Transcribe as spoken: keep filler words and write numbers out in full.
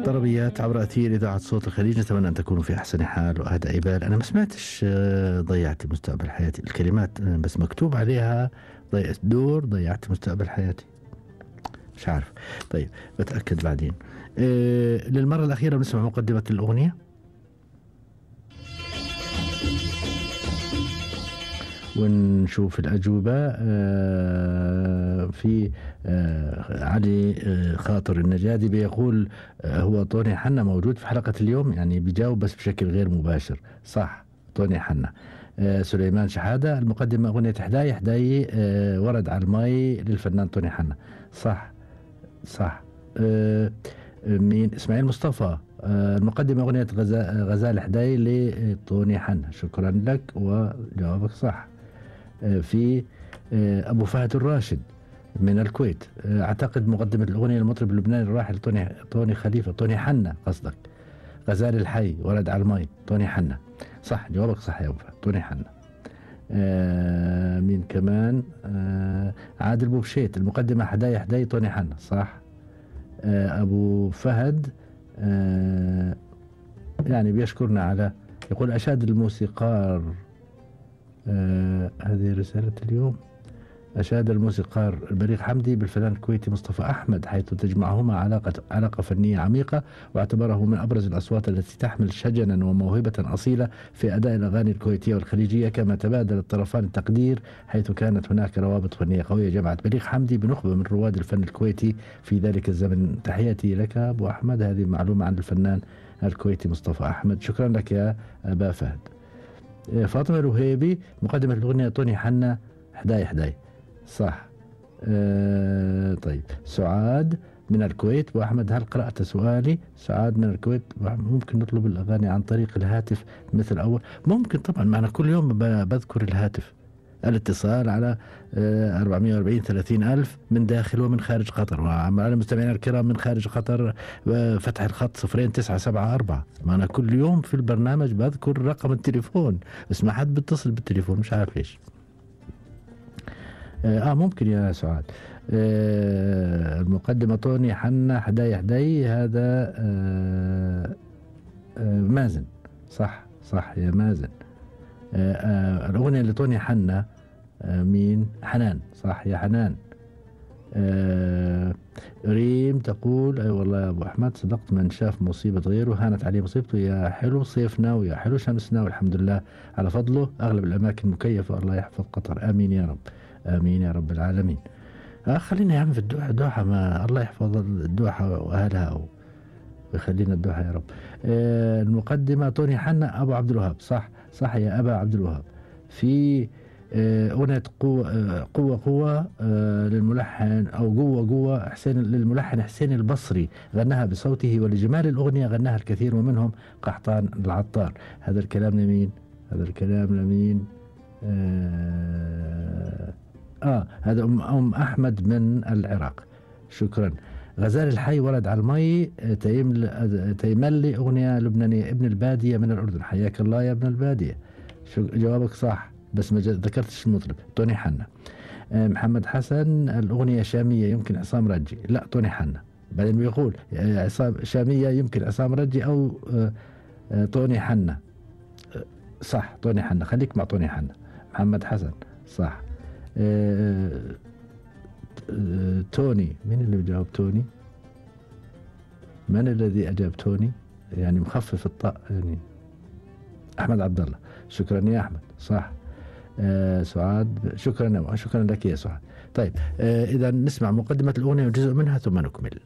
طربيات عبر أثير إذاعة صوت الخليج، نتمنى أن تكونوا في أحسن حال وأهدى بال. أنا ما سمعتش آه، ضيعت مستقبل حياتي، الكلمات آه، بس مكتوب عليها ضيعت دور ضيعت مستقبل حياتي، مش عارف. طيب بتأكد بعدين. آه، للمرة الأخيرة بنسمع مقدمة الأغنية ونشوف الأجوبة. آه، في آه، علي آه، خاطر النجادي بيقول آه، هو طوني حنا موجود في حلقة اليوم، يعني بيجاوب بس بشكل غير مباشر. صح، طوني حنا. آه، سليمان شحادة المقدمة أغنية حداي حداي آه، ورد على المي للفنان طوني حنا. صح صح. آه، مين؟ إسماعيل مصطفى آه، المقدمة أغنية غزا- غزال حداي لطوني حنا. شكرا لك وجوابك صح. في أبو فهد الراشد من الكويت، أعتقد مقدمة الأغنية المطرب اللبناني الراحل طوني طوني خليفة، طوني حنا قصدك. غزال الحي ورد على المي، طوني حنا. صح، جوابك صح يا أبو فهد، طوني حنا. آه مين كمان؟ آه عادل بوبشيت المقدمة حداي حداي طوني حنا. صح. آه أبو فهد آه يعني بيشكرنا على، يقول أشاد الموسيقار آه هذه رسالة اليوم. أشاد الموسيقار البليغ حمدي بالفنان الكويتي مصطفى أحمد، حيث تجمعهما علاقة علاقة فنية عميقة، واعتبره من أبرز الأصوات التي تحمل شجنا وموهبة أصيلة في أداء الأغاني الكويتية والخليجية. كما تبادل الطرفان التقدير، حيث كانت هناك روابط فنية قوية جمعت بليغ حمدي بنخبة من رواد الفن الكويتي في ذلك الزمن. تحياتي لك أبو أحمد، هذه معلومة عن الفنان الكويتي مصطفى أحمد. شكرا لك يا أبا فهد. فاطمة الوهيبي مقدمة الأغنية طوني حنا حداي حداي. صح. أه طيب سعاد من الكويت، وأحمد هل قرأت سؤالي؟ سعاد من الكويت، ممكن نطلب الأغاني عن طريق الهاتف مثل أول؟ ممكن طبعا، معنا كل يوم بذكر الهاتف. الاتصال على أه أربعمائة وأربعين ثلاثين ألف من داخل ومن خارج قطر، وعلى المستمعين الكرام من خارج قطر أه فتح الخط صفرين تسعة سبعة أربعة. معنا كل يوم في البرنامج بذكر رقم التليفون، بس ما حد بيتصل بالتليفون، مش عارف ليش. آه ممكن يا سعاد. آه المقدمة طوني حنا حداي حداي، هذا آه آه مازن. صح صح يا مازن. آه آه الأغنية اللي طوني حنا آه مين؟ حنان. صح يا حنان. آه ريم تقول أي أيوة والله يا أبو أحمد صدقت، من شاف مصيبة غيره هانت عليه مصيبته. يا حلو صيفنا ويا حلو شمسنا، والحمد لله على فضله أغلب الأماكن مكيفة. الله يحفظ قطر، آمين يا رب، آمين يا رب العالمين. آه خلينا يا عم في الدوحة. دوحة ما الله يحفظ الدوحة وأهلها ويخلينا الدوحة يا رب. آه المقدمة طوني حنا أبو عبد الوهاب. صح صح يا أبا عبد الوهاب. في آه أغنية قوة آه قوة قوة آه للملحن أو قوة قوة حسين للملحن حسين البصري، غناها بصوته، ولجمال الأغنية غناها الكثير ومنهم قحطان العطار. هذا الكلام لمين؟ هذا الكلام لمين؟ آه آه هذا أم, أم أحمد من العراق. شكرا. غزال الحي ورد على المي تيمل تيملي أغنية لبنانية. ابن البادية من الأردن، حياك الله يا ابن البادية. جوابك صح بس ما ذكرتش المطرب. طوني حنا. آه محمد حسن الأغنية شامية يمكن عصام رجي. لا طوني حنا. بعدين بيقول عصام شامية يمكن عصام رجي أو آه آه طوني حنا. آه صح طوني حنا، خليك مع طوني حنا. محمد حسن صح. آه آه توني، مين اللي بجاوب توني؟ من الذي أجاب توني؟ يعني مخفف الطاء يعني. أحمد عبد الله. شكرا يا أحمد. صح. آه سعاد شكرا شكرا لك يا سعاد. طيب آه إذا نسمع مقدمة الأغنية وجزء منها ثم نكمل.